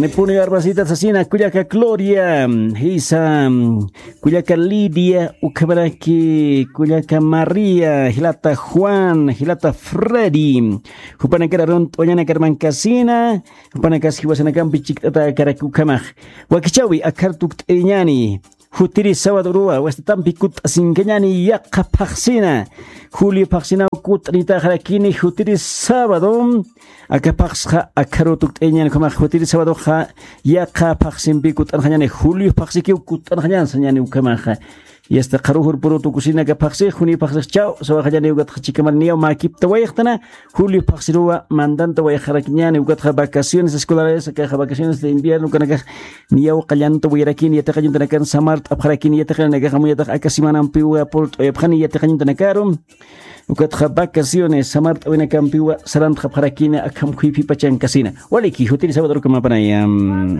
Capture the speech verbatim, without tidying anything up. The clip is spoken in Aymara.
Nipuni armasita sasina, kullaka Gloria, jisa, kullaka Lidia, ukhamaraki kullaka María, jilata Juan, jilata Freddy, jupanakar arunt'wañana karmankasina, jupanakas jiwasanakampi chikt'ata karaki ukhamax. Wakichawi akhar tukt'iriñani. Jutiri sábado uruwa wastatampi kutt'asinkañani, yaqha phaxsina. Julio phaxsinaw kutt'anitaxarakini, jutiri sábado. Aka phaxsxa akharu tukt'iriñani ukhamax, jutiri sábadoxa yaqha phaxsimpi kutt'anxañani, julio phaxsikiw kutt'anxañan sañani ukhamaxa. Yasta qharujur puru tukusina aka phaxsix, juni phaxsix chaw sawaxañani, ukatxa chikamar niyaw makipta wayxtana. Julio phaxsiruwa mandanta wayxarakiñani, ukatxa vacaciones escolares, akaxa vacaciones de invierno, ukanakax niyaw qallanta wayrakini, yatiqañuntanakan samart'apxarakini, yatiqañunakax amuyatax aka semanampiwa purt'uyapxani yatiqañuntanakaru. Ukatxa vacaciones samart'awinakampiwa sarantxapxarakini, akham khuyphipachankasina. Waliki, jutiri sábado rukamapanayam.